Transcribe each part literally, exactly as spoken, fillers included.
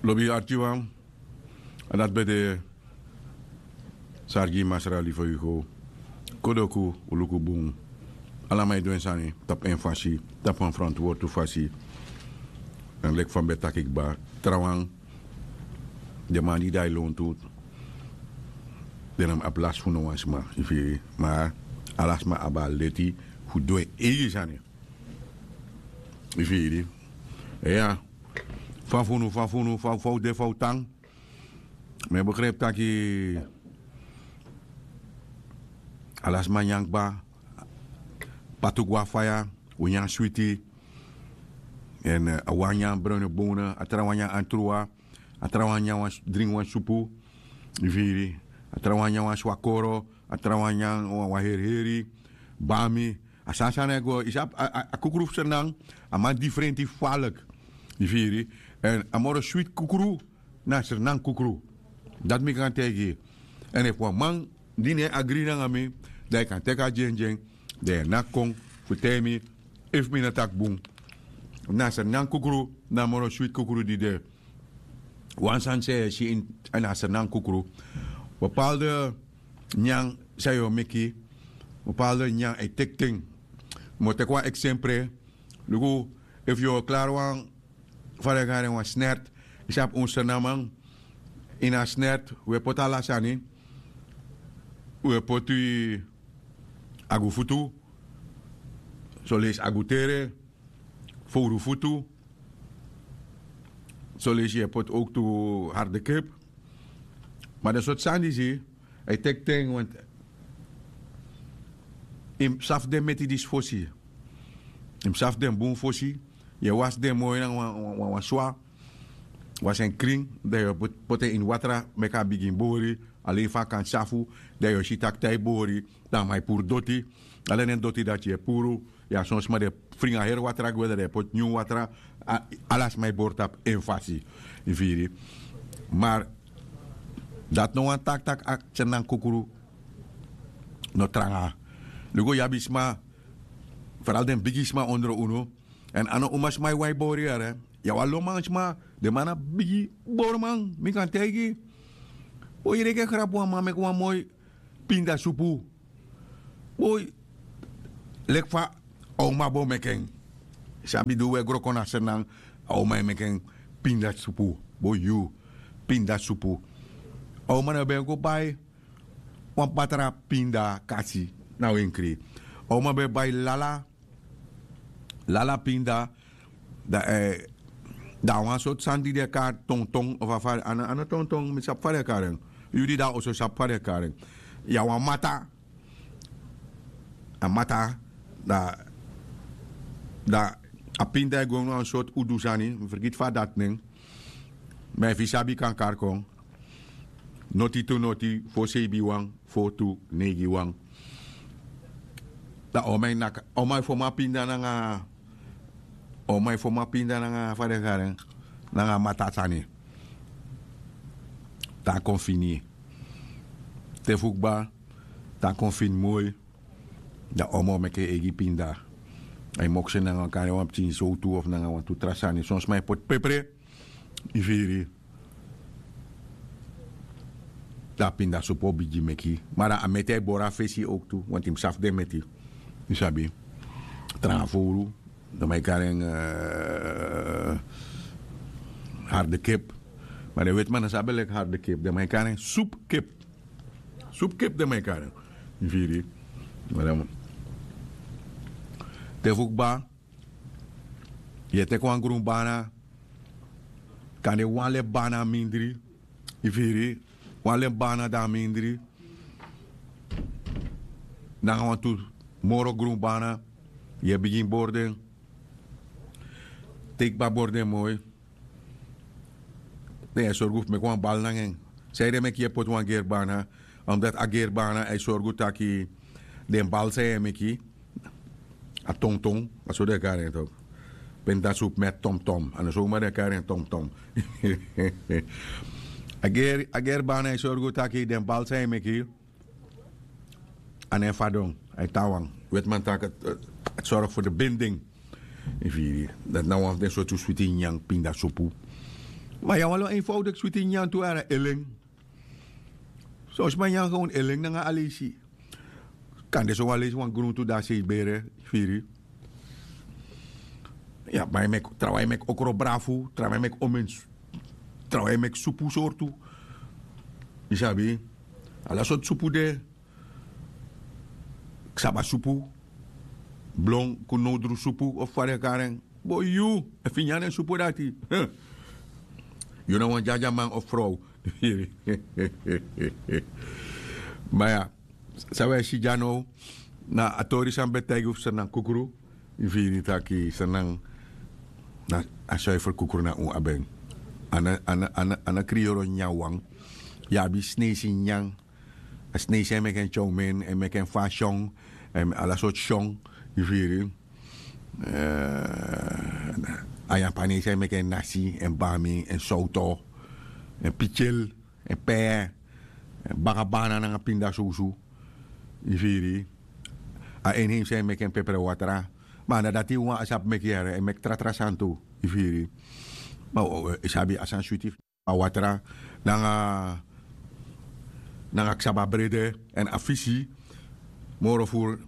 Lobi arkiwan, a dati ben de. Sargi masra lifoigo, kodoku, uluku bun. Ala man e du en sani tapu en fasi, tapu wan frantwortu fasi. Èn leki fa mi ben taki kba, trawan, den man di dai lontu, den na mi abi lasi fu no wan sma, yu firi. Ma ala sma abi a leti fu du en eigi sani, yu firi. Iya. Fa fu unu fa fu unu fa fu de fa un tan. Mi e begripi taki ala sma nyan kba. Patu go na faya. Un nyan switi. Èn a wan nyan browne bone, a trawan nyan antrua, a trawan nyan wan dringi wan supu. Yu firi. A trawan nyan wan swakoro, a trawan nyan wan heri heri, bami. A sani sani e go yu sabi. A kukru fu sernan, a man difrenti falek. Yu firi. Èn a moro switi kukru na sernan kukru. Dati mi kan taigi yu. Èn efu wan man di no e agri nanga mi, dan yu kan teki a dyendyen, dan yu e naki kon fu taigi mi efu mi no taki bun. Na sernan kukru na a moro switi kukru di de. Wan sani san yu e si ini a sernan kukru, bepalde nyan san yu o meki, bepalde nyan e teki ten. Mi o teki wan eksempre. Luku, efu yu o klari wan, fa den e kari en, wan snert. Yu sabi un sernaman, ini a snert un e poti ala sani. Un e poti agu futu, soleisi agu tere, fowru futu. Soleisi yu e poti owktu harde kip. Ma den sortu sani disi e teki ten, want yu mus sabi den meti disi fosi. Yu mus sabi den bun fosi. Yu e wasi den moi nanga wan swa. Wasi en krin, dan yu o poti en ini watra meki a bigin bori. Alen fa a kan safu, dan yu o si tak' te a e bori, dan a man e puru doti. Ala den doti dati yu e puru, ya son sma den e fringi a heri watra gwe, dan den e poti nyun watra. Ala sma e bori tapu en fasi. Yu firi. Mar dati no wani taki tak' a tsernan kukru no tranga. Luku, yu abi sma, feral den bigi sma ondro unu. Èn a no umasma e wai bori yere. Yu abi wan lomansma, den man na bigi boriman, mi kan taigi. Boi, yu reke grabu wan man meki wan moi pinda supu. Boi, leki fa a uma bo meki en. Sabi di un e gro kon na sernan, a uma e meki en pinda supu. Boi, yu, pinda supu. A uma no ben go bai wan patra pinda kasi na wenkri. A uma ben bai lala, lala pinda. Dan a wan sortu sani di den e kari tongtong of a fari, a no tongtong, mi sabi fa den e kari en. Yu di de na oso sabi fa den e kari en. Ya wan mata. A mata, dan a pinda e go ini wan sortu udu sani, mi fergiti fa dati nen. Ma efu yu sabi yu kan kari kon. Noti tu noti fo seibi wan fo tu neigi wan. Dan a uma e naka, a uma e fomo a pinda nanga, a uma e fomo a pinda nanga fa den e kari en, nanga a mata sani. Tan kon fini. Te fu kba, tan kon fini moi. Dan a uma o meki en eigi pinda. A e moksi en nanga wan kande wan pikin sowtu of nanga wantu tra sani, son sma e poti pepre. Yu firi. Dan a pinda supu o bigin meki. Ma dan a meti a e bori a fesi owktu, want yu mus sabi den meti. Yu sabi. Tranga fowru, den man e kari en harde kip. Ma den wetiman no sabi leki harde kip, den man e kari en supkip. Supkip den man e kari en. Yu firi. Te fu kba, yu e teki wan grun bana. Kande wan lepi bana mindri. Yu firi. Wan lepi bana dan mindri. Nanga wantu moro grun bana. Yu e bigin bori den. Te yu kba bori den moi. Dan yu e sorgu fu meki wan bal nanga en. Sanede meki yu e poti wan geri bana? Omdat a geri bana e sorgu taki den bal san yu e meki, a tongtong, a so den e kari en tok. Penta supu met tomtom, a no so uma den e kari en tomtom. A geri bana e sorgu taki den bal san yu e meki, a no e fadon, a e tan wan. Wetiman taki a e sorgu fu de binding. Yu firi. Dati na wan fu den sortu switi nyan pinda supu. Ma yu abi wan lo eenvoudik switi nyan tu, a na elen. Son sma nyan gewoon elen nanga a leisi. Kan de so wan leisi wan gruntu dan a sei bere firi. Ya, ma yu meki trawan, yu meki okro brafu, trawan yu meki omen, trawan yu meki supu sortu. Yu sabi, ala sortu supu de. Ksaba supu, blon, kunodru supu of fa den e kari en. Bo yu, efu yu nyan den supu dati, yu na wan dyadyama man of frow. Ma ya, san wi e si dya now, na a tori san mi ben taigi unu fu Sranan Kukru. Yu firi, taki Sranan na a suifer kukru na un abi en. A na, a na, a na, a na kriyoro nyanwan. Yu abi Sneisi nyan. A Sneisi e meki en chow mein, e meki en fa syong, en ala sortu syong. Yu firi. Eh, a Yapanesi e meki en nasi, en bami, en sowto, en pityel, en pee, en baka bana nanga pinda susu. Yu firi. A inheimsi e meki en pepre watra. Ma a na dati wawan sabi meki yere, e meki tra tra sani tu. Yu firi. Ma o, o, yu sabi a sani switi, a watra, nanga, nanga ksaba brede, èn a fisi. Moro furu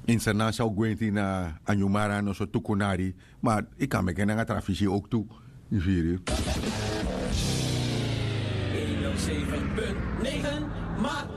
ini Sranan san o gwenti na a nyun mara, noso tu kunari. Ma yu kan meki en nanga tra fisi ook tu. Yu firi. Een nul zeven punt negen, maar